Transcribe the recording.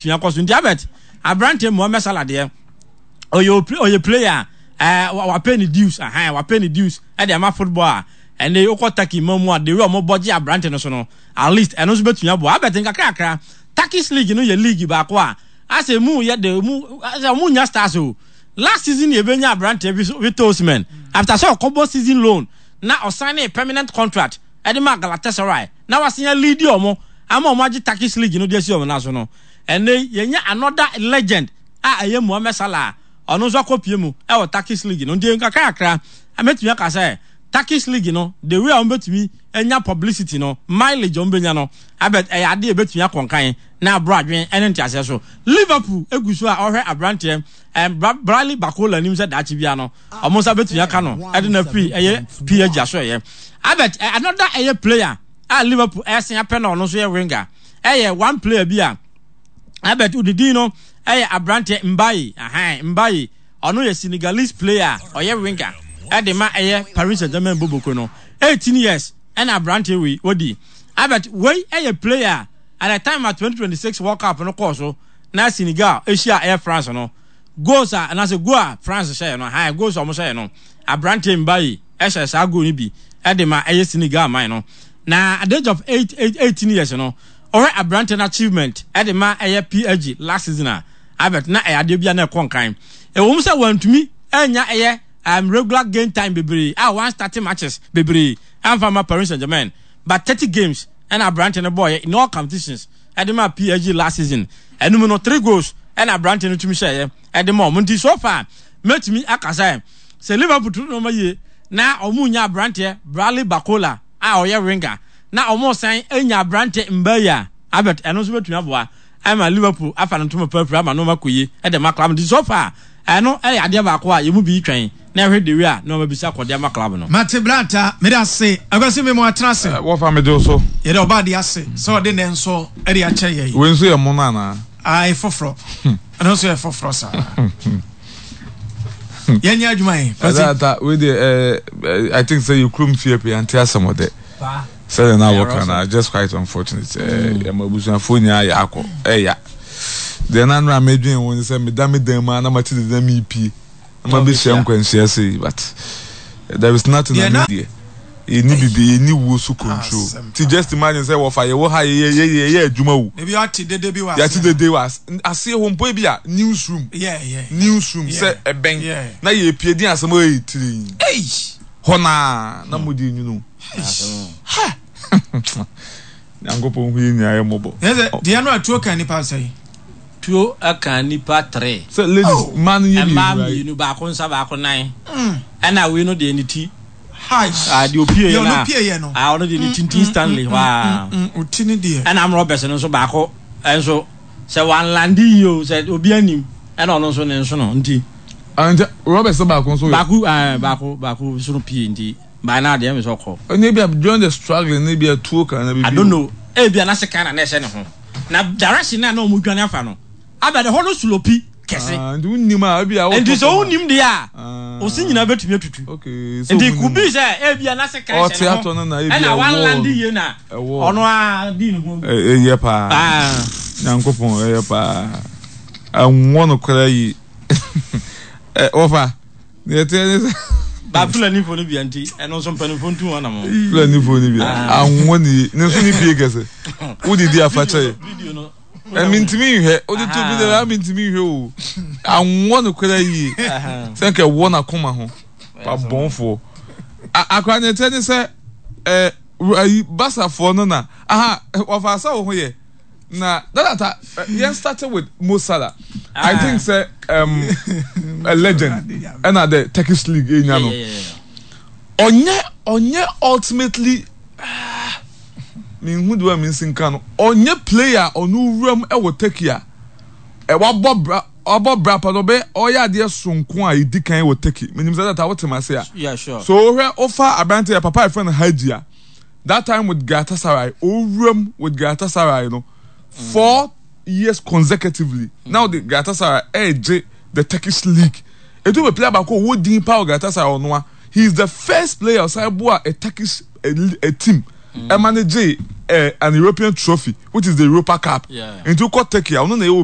bɛtumi akɔ so. Nti Albert, aberanteɛ Mohamed Salah deɛ, ɔyɛ ɔyɛ player a ɛɛ wapɛ ne dues, ahan wapɛ ne dues ɛde ama football a ɛnɛ wokɔ Turkey ma mu a, the way ɔmo bɔ gye aberante no so no, at least ɛno nso bɛtumi aboa. Albert, nkakrakra Turkish league no yɛ league baako a asɛ mu yɛ de mu asɛ ɔmo nya stars o. Last season yɛ bɛnya aberanteɛ bi so, Victor Osimhen, after sɛ ɔkɔbɔ season loan na ɔsan ne permanent contract ɛde ma Galatasaray na wasan lead ɔmo ama ɔmo agye Turkish league no de asi ɔmo nan so no, ɛnɛ yɛnya another legend a ɛyɛ Mohamed Salah a ɔno nso akɔpie mu ɛwɔ Turkish league no. Nti nkakrakra mɛtumi aka sɛ Turkish league no, the way a wɔn bɛtumi anya publicity no, mileage a wɔn bɛnya no abɛ ɛyɛ adeɛ a ɛbɛtumi akɔnkan na aboro adwene ɛne nteaseɛ so. Liverpool egu so a ɔhwɛ aberanteɛ Bradley Barcola anim sɛ daakye bia no ɔmo nsa bɛtumi aka no ɛde na free ɛyɛ PSG aso ɛyɛ. Abet another ɛyɛ player a Liverpool ɛsen apɛ na ɔno nso yɛ winger, ɛyɛ one player bi a Abet ne din no ɛyɛ aberanteɛ Mbaye, ahan Mbaye. Ɔno yɛ Senegalese player a ɔyɛ winger ɛde ma ɛyɛ Paris Saint-Germain boboko no. 18 years ɛna aberanteɛ wei wadi. Abet wei ɛyɛ player at the time a 2026 World Cup no kɔɔ so na Senegal ahyia ɛyɛ France no, goals a anaasɛ goal a France hyɛɛ no, ahan goals a wɔn hyɛɛ no, aberanteɛ Mbaye ɛhyɛ saa goal no bi ɛde ma ɛyɛ Senegal man no. Na at the age of 18 years no, ɔhwɛ aberanteɛ no achievement ɛde ma ɛyɛ PSG last season a, Albert, na ɛyɛ adeɛ bi a na ɛkɔ nkan. Ɛwɔ mu sɛ wantumi anya ɛyɛ regular game time bebree a wɔn starting matches bebree amfa ma Paris Saint-Germain, but 30 games ɛna aberanteɛ no bɔɔyɛ in all competitions ɛde ma PSG last season. Ɛnum no, three goals ɛna aberanteɛ no tumi hyɛeɛ ɛde ma ɔmo. Nti so far mɛtumi aka sɛ Liverpool tu nneɛma yie na ɔmo nya aberanteɛ Bradley Barcola a ɔyɛ winger na ɔmo san nya aberanteɛ Mbaye a, Albert, ɛno nso bɛtumi aboa ama Liverpool afa no ntoma pɛrɛpɛrɛ ama nneɛma kɔ yie ɛde ma club. Nti so far ɛno ɛyɛ adeɛ baako a yɛn mu bi twɛn na ɛhwɛ dewi a nneɛma bisa kɔde ama club no. Mate Blata, mede ase. Akwasi me mo atena ase. Wɔfa mede wo so. Yɛde ɔba de ase sɛ ɔde nɛ nso de akyɛ yɛn. Wei nso yɛ mono anaa? Ae, foforɔ. Ɛno nso yɛ foforɔ saa. Yɛnyɛ adwuma yi. Kwasi. Ɛda wei deɛ I think sɛ yɛ kurom fie pɛ yɛnte asɛm ɔdɛ. Sɛdeɛ na wɔka no, just quite unfortunate. Ɛma abusuafoɔ nyinaa yɛ akɔ ɛya. Deɛ na nora medwen ho ne sɛ meda me dan mu a na mate dede na mepie na mabɛhyia nkwanhyia sei, but there is nothing na me deɛ yɛnni bibi, yɛnni wuo so control. Ti just imagine sɛ wɔfa yɛwɔ ha yɛyɛ yɛyɛ adwuma o. Ebi ate dede bi wɔ aseɛ. Yɛate dede wɔ aseɛ hɔ mpo, ebi a newsroom. Newsroom sɛ ɛbɛn na yɛpie din asɛm ɛyɛ tiri. Hɔ naa na mo di nwunu. Ha! Nyankopɔn hu yɛn nyinaa yɛ mmɔbɔ. Yɛ sɛ deɛ no a tuo kan nipa sɛn? Tuo kan nipa three. Sɛ ladies, oh, mmaa no yɛ mmienu. Mmaa mmienu, baako nsa baako nan. Ɛna wei no deɛ ne ti. Hi. Ah, deɛ opie yɛ na. Deɛ ɔno no. Ah, ɔno deɛ ne ti nti instantly hɔ a. Oti ne deɛ. Ɛna amrɔ bɛsɛ no nso baako ɛnso sɛ wanlande yie o, sɛ obi anim ɛna ɔno nso ne nso no nti. Ah, nti Robert sɛ baako nso yɛ. Baako, ah, baako baako nso no pie nti. By now deɛ ɛmi sɛ ɔkɔ. Ɛnna ebi a during the struggling na ebi a tuo kan na bibi. I don't know, ebi a na sekan na na ɛhyɛ ne ho na direction na na wɔn dwane afa no abɛ de hɔ no slopi kɛse. Ah, nti wonnim a ebi a wotɔ Nti sɛ wonnim deɛ a, osi nyinaa bɛtumi atutu. Okay, so nti could be sɛ ebi a na sekan hyɛ ne ho ɛna wanlande yie na ɔno a di ne ho. Ɛyɛ paa. Nyankopɔn ɛyɛ paa. Ɛnwɔ no koraa yi. Wɔfa. Deɛ ɛteɛ ne sɛ. Ba Fulanifo no bia nti ɛno nso mpanimfoɔ ntu wɔn anamɔ. Fulanifo no bia anwɔ ne yie ne nso ne pie kɛse wodidi afakyɛ yɛ. Ɛmi ntumi nhwɛ wode to bi dɛ ɛmi ntumi nhwɛ o anwɔ no koraa yie sɛ nka ɛwɔ n'akoma ho abɔnfoɔ. Akora deɛ ɛteɛ ne sɛ ɛɛ ayi basafoɔ no na aha wɔfa asa wɔ ho yɛ. Na dada yɛn started with Mo Salah. I think sɛ a legend ɛna the Turkish league enya no. Ɔnyɛ ɔnyɛ ultimately minhu de wa mi nsi nka no. Ɔnyɛ player ɔno wuram ɛwɔ Turkey a wabɔ bra wabɔ bra pa no ɔbɛ ɔyɛ adeɛ soronko a edi kan wɔ Turkey. Menim sɛ dada wote ma se a. Yeah, sure. So wohwɛ wofa aberante yɛ papa yɛfrɛ no Hagi a. That time with Galatasaray, owuram with Galatasaray no, 4 years consecutively. Now the Galatasaray ɛregye the Turkish league. Etu bɛ player baako owó din pa wɔ Galatasaray ɔnoa. He is the first player ɔsan boa a Turkish a team ɛma ne gye an European trophy, which is the Europa Cup. Nti wokɔ Turkey a, ɔno na ɛyɛ obi.